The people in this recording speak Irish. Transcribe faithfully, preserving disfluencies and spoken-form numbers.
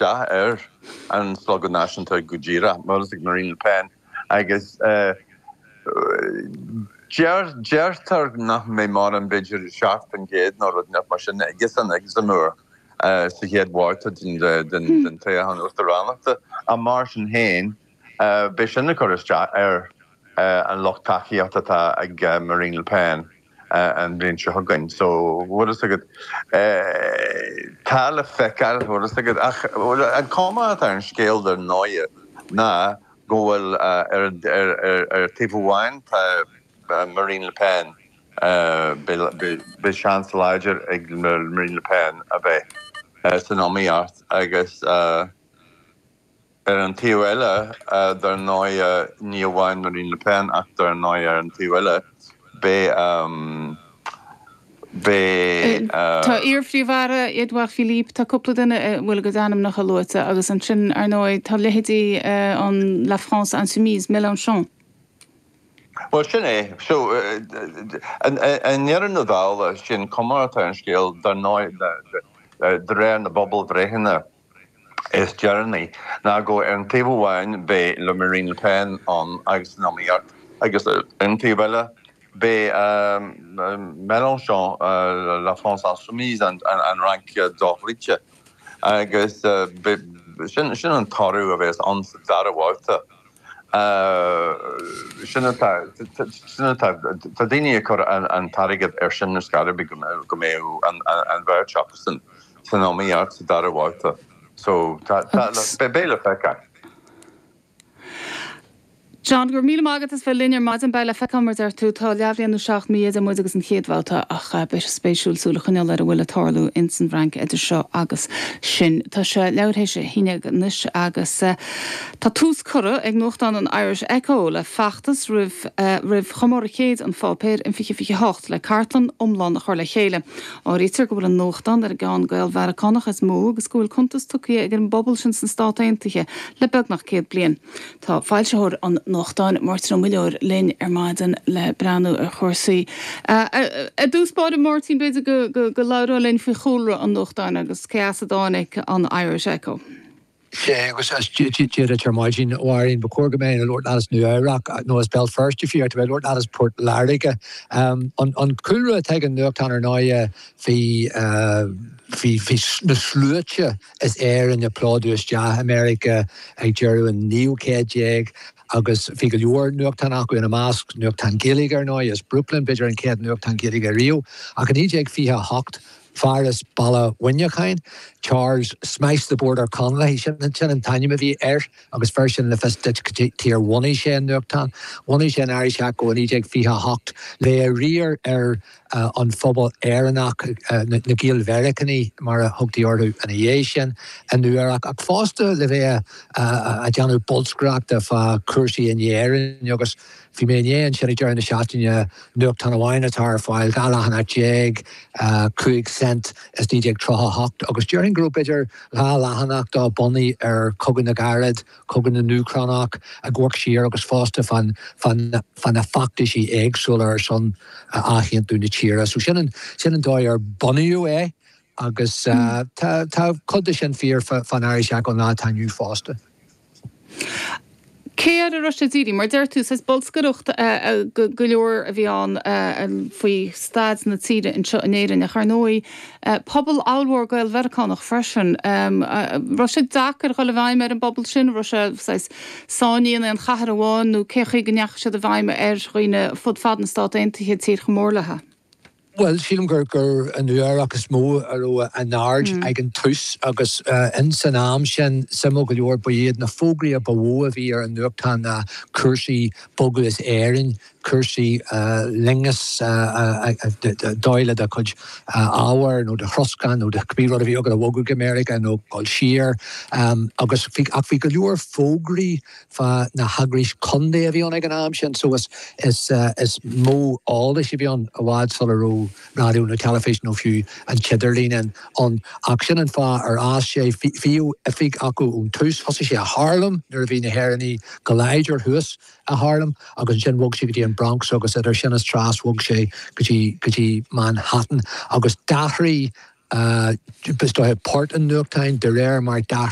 isteach ar an Slógadh Náisiúnta go díreach, mar ag Marine Le Pen agus deirtear nach mbeidh mórán b'fhéidir seacht faoin gcéad nó rud mar sin aigesan ag Zemmour sa chéad bhabhta den toghchán uachtaránachta ach mar sin féin beidh sin ag cur isteach ar an lucht tacaíochta atá ag Marine Le Pen an bhliain seo chugainn. So bhfuil a fhios agat tá le feiceáil bhfuil a fhios agat ach an cuma atá ar an scéal dar ndóigh ná go bhfuil ar ar taobh amháin tá Marine Le Pen beidh seans láidir ag Marine Le Pen a bheith san iomaíocht agus ar an taobh eile dar ndóigh ní amháin Marine Le Pen ach dar ndóigh ar an taobh eile beidh beidh. Tá iar-phríomh-aire Édouard Philippe, tá cúpla duine a bhfuil a gcuid ainmneacha luaite agus ansin ar ndóigh tá leithéidí an La France Insoumise, Mélenchon. Well sin é so i ndeireadh na dála sin cuma atá ar an scéal dar ndóigh de réir na bpobalbhreitheanna is deireanaí ná go ar an taobh amháin beidh le Marine Le Pen ann agus san iomaíocht agus ar an taobh eile beidh Mélenchon La France Insoumise an Fhrainc dochloíte agus sin sin an toradh a bheas ann sa dara babhta. Sin atá sin atá tá daoine ag cur an t-airgead ar sin ar scor ar bith go mbeidh an bheirt acusan san iomaíocht sa dara babhta. So tá beidh le feiceáil. John, go raibh míle maith agat as bheith linn ar maidin beidh le feiceáil mar deir tú tá leathbhliain nó seacht mí idir muid agus an chéad bhabhta ach beidh sé spéisiúil súil a choinneáil ar a bhfuil ag tarlú ins an bhFrainc idir seo agus sin. Tá sé leathuair théis a haon déag anois agus tá tús curtha ag nuachtán an Irish Echo le feachtas roimh roimh chomóradh céid an pháipéir in fiche fiche hocht le cartlann iomlán a chur le chéile. Áirítear go bhfuil an nuachtán ar an gceann Gael-Mheiriceánach is mó agus go bhfuil cuntas tugtha ag an bpobal sin sna Stáit Aontaithe le beagnach céad bliain. Tá foilsitheoir an nuachtáin Máirtín Ó Muilleoir linn ar maidin le breathnú ar chúrsaí. I dtús báire Máirtín b'fhéidir go go go labhrófá linn faoi chúlra an nuachtáin agus cé as a dtáinig an Irish Echo. Sé agus Dia ar maidin bhhain ba chóir go mbeinn ag labhairt as Nua-Eabhrac nó as Béal Feirste fiú bheith ag labhairt as Port Láirge. Um, an, an cúlra atá ag an nuachtán ar ndóigh bhí bhí bhí na sluaite as Éirinn ag plódú isteach America ag deireadh an naoú céad déag agus bhí go leor nuachtán acu ina measc nuachtán Gaeilge ar ndóigh as Brooklyn b'fhéidir an chéad nuachtán Gaeilge riamh ach in naoi déag fiche hocht fear as Baile Mhuineacháin, Charles Smash the Border Connolly sin sin an t-ainm a bhí air agus fear sin le fios duit cad ar bhunaigh sé an nuachtán. Bhunaigh sé an Irish Echo in naoi déag fiche hocht le riar ar uh, an phobal Éireannach uh, na, na Gael-Mheiriceánaigh mar a thugtaí orthu ina dhiaidh sin i Nua-Eabhrac ach fosta le bheith uh, ag déanamh bolscaireachta fá chúrsaí in Éirinn agus Bhí mé inné ansin ag deireadh na seachtaine nuachtán amháin atá ar fáil dhá leathanach déag cúig cent is naoi déag tríocha hocht agus déarfainn go raibh b'fhéidir dhá leathanach dá bunaithe ar Chogadh na gCarad, Cogadh na nÚcránach ag amharc siar agus fosta fan fan na feachtaisí éagsúla ar son athaontú na tíre. So sin an sin an dóigh ar bunaíodh é agus tá tá cuid de sin fíor fan Irish Echo an lá atá inniu fosta. Cé air a raibh sé dírithe, mar deir tú is bolscaireacht go leor a bhí ann faoi staid na tíre anseo in Éirinn ach ar ndóigh pobal ollmhór Gael-Mheiriceánach freisin. Raibh sé deacair dhul i bhfeidhm ar an bpobal sin, raibh sé sáinnithe in aon chathair amháin nó cé chaoi go ndeachaigh siad i bhfeidhm ar dhaoine fud fad na Stát Aontaithe tír chomh mór léi. Well sílim gur gur an Nua-Eabhrac is mó a raibh an aird ag an tús agus in san am sin suimiúil go leor ba iad na fógraí a ba mhó a bhí ar an nuachtán ná cúrsaí bogadh as Éirinn, cúrsaí loingeas dóigh le do chuid ábhair nó do throscán nó do cibé rud a bhí agat a bhogadh go Meiriceá nó dul siar agus ach bhí go leor fógraí fá na heagrais contae a bhí ann ag an am sin so is is is mó eolais a bhí ann i bhfad sula raibh raidió nó teilifís nó fiú an t-idirlíon ann ach sin an fáth ar fhás sé bhíodh oifig acu ón tús thosaigh sé i Harlem nuair a bhí na hÉireannaigh go láidir thuas i Harlem agus ansin bhog sé go dtí an Bronx agus idir sin is tras bhog sé go dtí go dtí Manhattan agus d'athraigh uh, port an nuachtáin de réir mar d'athraigh